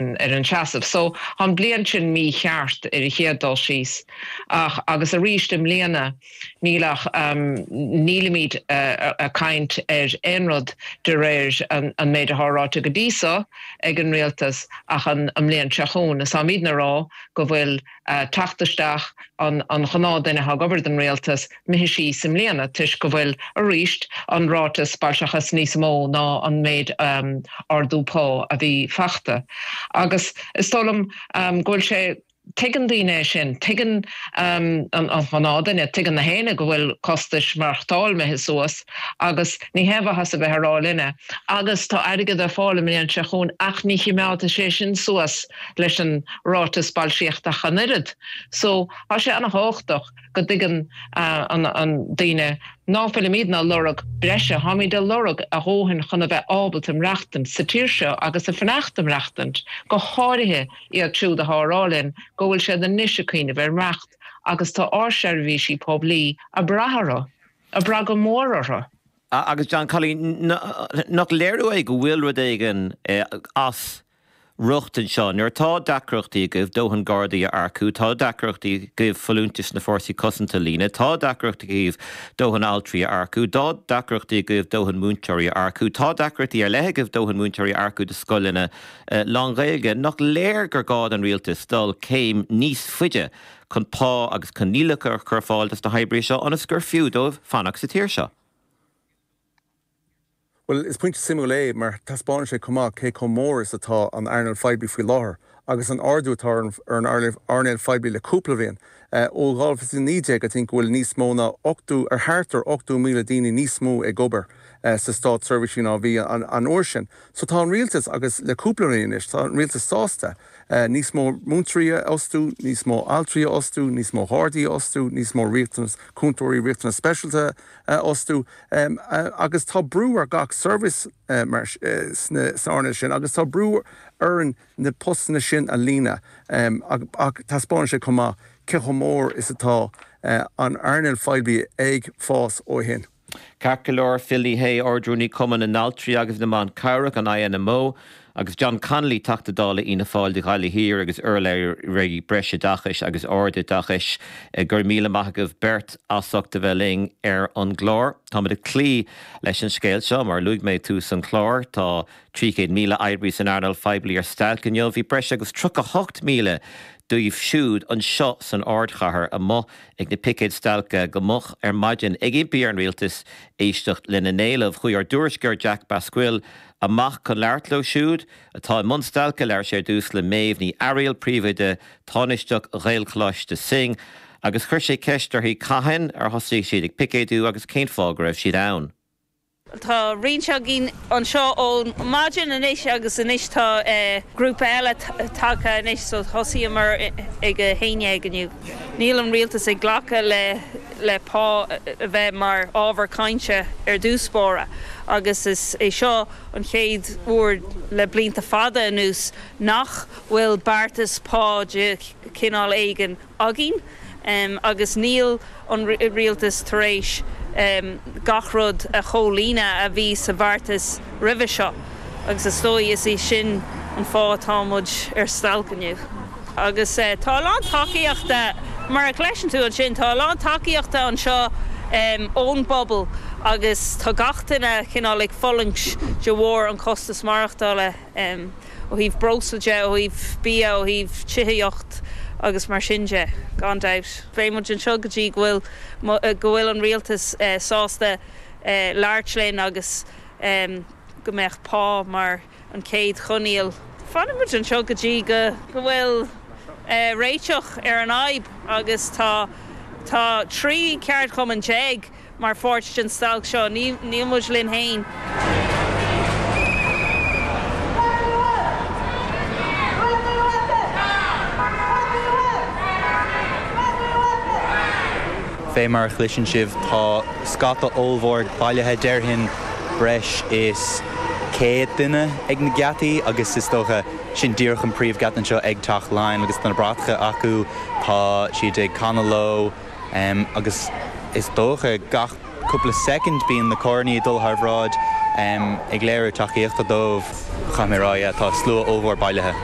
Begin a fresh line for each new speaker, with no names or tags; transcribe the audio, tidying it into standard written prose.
Ar an seasamh. So, tá an bliain sin mícheart ar an chéad dul síos. Ach, agus arís i mbliana, níl ach, nílimid ag caint ar aon rud de réir an méid atá ráite go dtí so ag an rialtas ach an mbliain seo chugainn. Is táimidne ag rá go bhfuil teacht isteach an ghnáthduine atá ag obair don rialtas imithe síos i mbliana toisc go bhfuil arís an ráiteas boilsciúchais níos mó ná an méid ardú pá a bhí fachta. Agus is dóigh liom go bhfuil sé, tuigeann daoine é sin, tuigeann an ghnáthduine, tuigeann na héinne go bhfuil costais maireachtáil imithe suas agus ní haon mhaitheas a bheith ag rá linne agus tá airgead ar fáil an mbliain seo chugainn ach ní chimeádfaidh sé sin suas leis an ráiteas boilscíochta ach an oiread. So tá sé ana-thábhachtach go dtuigeann an daoine ná fuilimidne ag lorg breise, táimid ag lorg a dhóthain chun a bheith ábalta maireachtaint sa tír seo agus a fanacht ag maireachtaint, go háirithe iad siúd atá ag rá linn go bhfuil siad anois ag cuimhneamh ar imeacht agus tá ár seirbhísí poiblí ag brath orthu, ag brath go mór orthu.
Agus John Connolly, nach léiriú é go bhfuil rud éigin as riocht anseo. Nuair atá deacrachtaí agaibh dóthain Gardaí a earcú, tá deacrachtaí agaibh folúntais sna Fórsaí Cosanta a líonadh, tá deacrachtaí agaibh dóthain altraí a earcú, tá deacrachtaí agaibh dóthain múinteoirí a earcú, tá deacrachtaí ar leith agaibh dóthain múinteoirí a earcú do scoileanna lán-Ghaeilge. Nach léir gur gá don Rialtas dul céim níos faide chun pá agus coinníollacha a chur ar fáil dos na hoibrithe seo ionas gur fiú dóibh fanacht sa tír seo?
Bhuel, is pointe suimiúil é mar taispeánann sé chomh maith cé chomh mór is atá an earnáil phoiblí faoi láthair agus an ardú atá ar an earnáil phoiblí le cúpla bhliain. Ó 2019, I think go bhfuil níos mó ná 80, ar thart ar 80,000 daoine níos mó ag obair sa státseirbhísí ná a bhí an uair sin. So tá an rialtas, agus le cúpla bliain anois, tá an rialtas sásta níos mó múinteoirí a fhostú, níos mó altraí a fhostú, níos mó Ghardaí a fhostú, níos mó riachtanas, cúntóirí riachtanas speisialta a fhostú. Agus tá brú ar gach seirbhís mar sna earnáil sin agus tá brú orainn na postanna sin a líonadh ach taispeánann sé chomh maith cé chomh mór is atá an earnáil phoiblí ag fás ó shin.
Ceart go leor, Phil Ní Sheaghdha, Ard-Rúnaí Cumann na nAltraí agus na mBan Cabhrach, an INMO, Agus John Connolly, Teachta Dála Fhianna Fáil do Ghaillimh Thiar agus urlabhraí Breisoideachais agus Ardoideachais, go raibh míle maith agaibh beirt as ucht a bheith linn ar an gclár. Táimid ag cloí leis an scéal seo, mar a luaigh mé ag tús an chláir, tá 300,000 oibrí san earnáil phoiblí ar stailc inniu. Bhí breis agus 38,000 díobh siúd anseo san ardchathair amuigh ag na picéid stailce go moch ar maidin ag impí ar an rialtas éisteacht lena n-éilimh. Chuaigh ár dtuairisceoir Jack Basquill amach chun labhairt leo siúd atá i mbun stailce. Labhair sé ar dtús le Méabh Ní Fhearaíl, príomhoide tánaisteach Ghaelcholáiste Synge, agus chuir sé ceist uirthi cathain ar thosaigh siad ag picéadú agus cén fáth go raibh siad ann.
Tá roinnt againn anseo ó maidin anois agus anois tá grúpa eile tagtha anois so thosaíomar ag a 11 inniu. Níl an rialtas ag glacadh le le pá a bheith mar ábhar cainte ar dtús báire agus is é seo an chéad uair le blianta fada anuas nach bhfuil beartas pá de chineál éigin againn agus níl an rialtas tar éis gach rud a chomhlíonadh a bhí sa bheartas roimhe seo agus is dóigh is é sin an fáth atá muid ar stailc inniu. Agus tá a lán tacaíochta, mar a chloiseann tú ansin, tá a lán tacaíochta anseo ón bpobal agus tá gach duine cineál ag fulaingt de bharr an chostas maireachtála ó thaobh breosla de, ó thaobh bia, ó thaobh tithíocht agus mar sin de, gan dabht. Beidh muid anseo go dtí go bhfuil, go bhfuil an rialtas sásta labhairt linn agus go mbeadh pá mar an chéad choinníoll. Fanfaidh muid anseo go dtí go bhfuil réiteach ar an fhadhb agus tá tá 13 ceardchumann mar pháirt den stailc seo. Níl muid linn fhéin.
Fé mar a chloiseann sibh tá scata ollmhór bailithe, déarfainn breis is 100 duine ag na geataí agus is dócha sin díreach an príomhgheata anseo ag Teach Laighean agus tá na bratacha acu, tá siad ag canadh leo agus is dócha gach cúpla soicind bíonn na carrannaí ag dul thar bhráid. ag léiriú tacaíochta dóibh. Caithfidh mé a rá, yeah, tá slua ollmhór bailithe.